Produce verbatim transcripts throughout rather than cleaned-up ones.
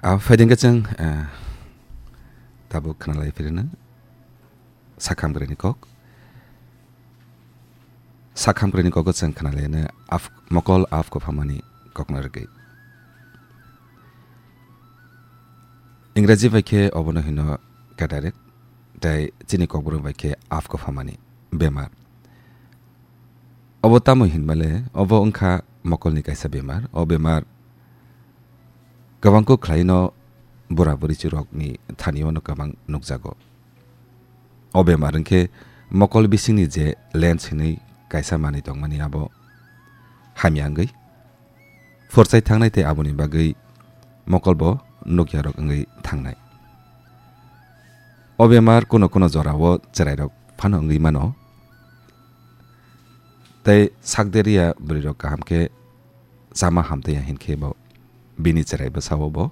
A phaidengkhe chwng, eh, tabuk khwnalai phirino sakhamgwrani kok. Sakhamgwrani kogo chwng khwnalaino af-, mokol af kophamani kokno rwgwi. Ingraji bai khe obono hino cataract, tei chini kokborok bai khe af kophamani bemar. Obo tamo hinmale, obo wngkha mokolni kaisa bemar. O bemar kwbangkuk khlaino bura burichirokni thanio no kwbang nukjago. O bemar wngkhe mokol bisingni je lens hinwi kaisa manwi tongmani abo hamya wngwi phorchai thangnai tei aboni bagwi mokolbo nukyarok wngwi thangnai. O bemar kuno kuno jorao chwrairok phano wngwi mano. Tei sakderiya bwrwirok kaham khe chama hamtaiya hinkhe bo bini chwrai bwsao bo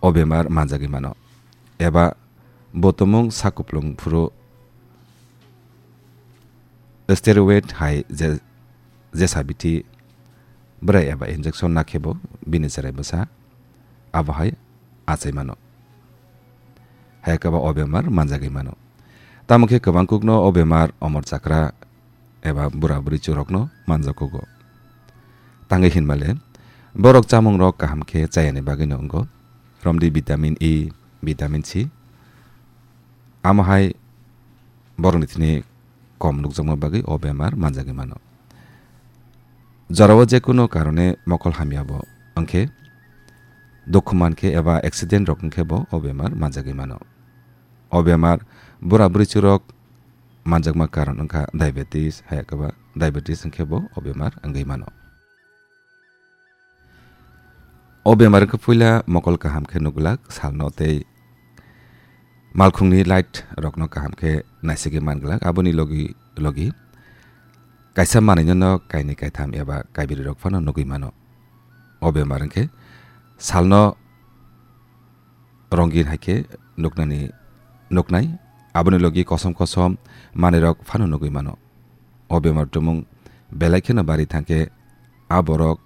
o bemar manjagwi mano. Eba bo tumung sak kuplung phuru steroid hai je, jesa bithi bwrai eba injection nakhe bo bini chwrai bwsa abo hai achai mano. Hai khe bo o bemar manjagwi mano. Tamo khe kwbangkukno o bemar omor chakra eba bura buri churokno manjakugo. Tangwi hinmale, borok chamungrok kaham khe chayani bagwino wngo. Romdi vitamin E, vitamin C. Amo hai borokni thini kom nukjakma bagwi o bemar manjagwi mano. Jorao jekunu karone mokol hamya bo wngkhe, dukhu mankhe eba accident rok wngkhe bo o bemar manjagwi mano. O bemar bura buri churok manjakma karon wngkha diabetes, hai khe ba diabetes wngkhe bo o bemar wngwi mano. O bemar wngkha puila mokol kaham khe nukglak, salno tei malkhungni light rokno kaham khe naisigwi manglak, aboni logi logi kaisa manwino no kainwi kaitham eba kaibiri rok phano nugwi mano. O bemar wngkhe salno rongin hai khe nuknani, nuknai, aboni logi kosom kosom manwirok phano nugwi mano. O bemar tumung belai kheno bari thangkhe a borok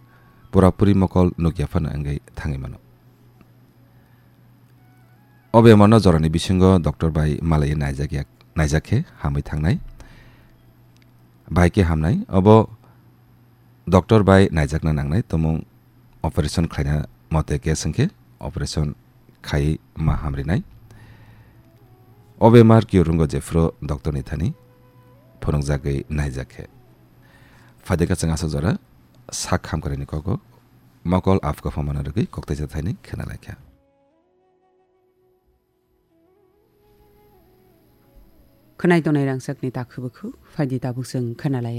pura puri mokol nukya phano wngwi thangwi mano. O bemarno jorani bisingo doctor bai malaiwi naijak ya, naijak khe hamwi thangnai, bai khe hamnai. Obo doctor bai naijakna nangnai, tumung operation khlaina mote case wngkhe operation khai ma hamrinai. O bemar kiyo rungo jephuru doctor ni thani phunukjagwi naijak khe. Phaideka chwng aswk jora sak hamkrai ni kogo mokol af kophoma no rwgwi kokteisa thaini khwnalaikha. Khwnai tongnai rangchakni takhu bukhu, phaidi tabuk chwng khwnalaiya.